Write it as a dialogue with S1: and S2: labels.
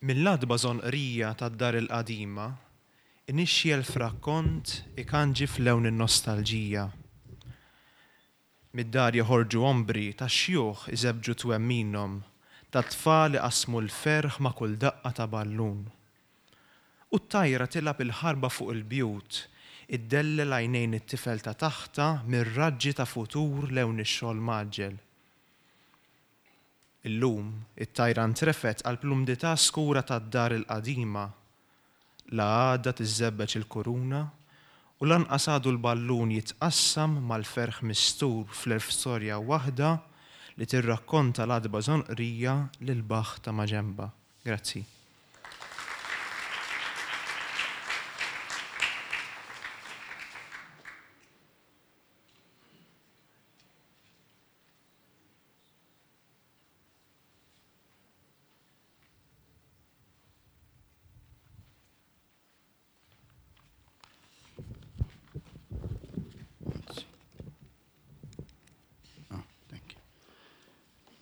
S1: Mill-għatba żonqrija tad-dar il-qadima, inixxi elf rakkont ikanġi f'lewn in-nostalġija. Mid-dar joħorġu ombri ta' xjuħ iżebbġu twemminhom, ta' tfal iqassmu l-ferħ ma' kull daqqa ta' ballun. U t-tajra tilgħab il-ħarba fuq il-bjut, iddellel għajnejn it-tifel ta' taħtha mir-raġġi ta' futur lewn ix-xogħol mgħaġġel. Illum, it-tajra ntrefgħet qalb l-umdità skura tad-dar il-qadima. La għadha tiżżebbeġ il-kuruna u lanqas għadu l-ballun jitqassam mal-ferħ mistur fl-elf storja waħda li tirrakkonta l-għatba żonqrija lil baħħ ta' maġenbha. Grazzi.